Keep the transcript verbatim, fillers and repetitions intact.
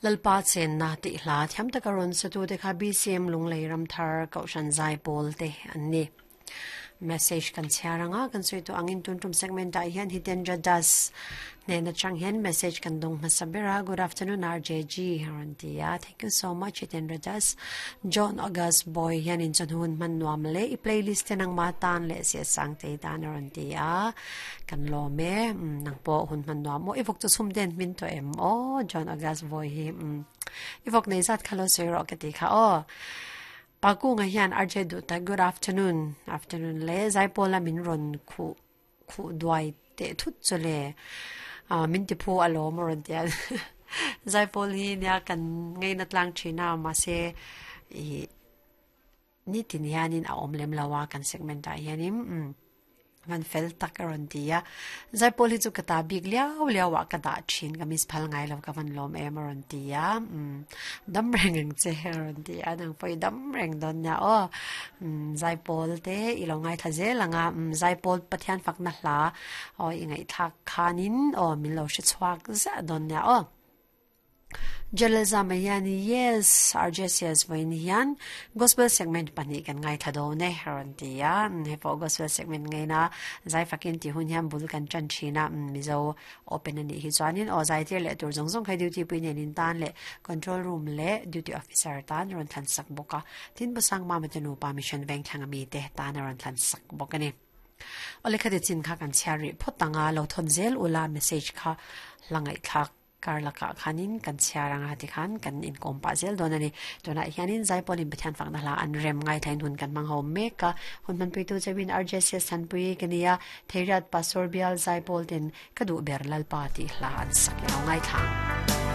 Lalpa chen na ti hla thiam taka ron satu te kha B C M Lunglei Ramthar Kohhran Zaipawl te an ni. Message kan chhiaranga kan sawi tawh angin tun tum segment ah hian Hitendra Das hnena chang hian message kan dawng hmasa ber a. Good afternoon R J G a rawn ti a. Thank you so much Hitendra Das. John August Boy hian in chuan hun hman nuam le i playlist te nang ma tan leh sia sang te tan a rawn ti a. Kan lawm e nang pawh hun hman nuam maw i vawk chu chhum den hmin tawh em aw John August Boy hi i vawk nei zat kha lo sawi rawh ka ti kha aw. Paku nga hian R J Duta good afternoon afternoon le Zaipawl a min rawn khu khu duai te thut chu le min ti phu a lawm a rawn ti a. Zaipawl hi nia kan ngei na tlang thina ma se i ni tin hianin a awm lem lo a kan segment ah hianin man fel tak a rawn ti a. Zaipawl hi chu ka ta bik liau liau ah ka dah thin ka miss phal ngai lo ka van lawm em a rawn ti a. Dam reng ang che a rawn ti a nang pawh i dam reng dawn nia aw. Zaipawl te i lo ngai thla zel anga Zaipawl Pathian fakna hla aw i ngaihthlak khanin aw min lo hre chhuak zah dawn nia aw. Jalal Zama hian yes R J C S vawiin hian gospel segment pahnih kan ngai thla dawn e a rawn ti a. Hei pawh gospel segment ngaina zai fakin tih hun hian bul kan tan thin a. Mizo open anih hi chuanin aw zai tir leh tur zawng zawng khai duty pui nen in tan leh control room leh duty officer tan rawn thlan sak bawk a. Tin Busang Mama te nupa mission veng thlang ami te tan a rawn thlan sak bawk a ni. Awle kha ti chin kha kan chhiar rih phawt anga lo thawn zel ula message kha la ngaihthlak kar laka khanin kan chhiaranga ti khan kan inkawm pah zel dawn a ni. Tunah hianin Zaipawl in Pathian fakna hla an rem ngai thlain hun kan hmang ho mek a. Hun hmanpui tu chawin R J C S Thanpui ka nia Theiriat Pastor Bial Zaipawl ten ka duh ber Lalpa tih hla an sak i lo ngai thlang.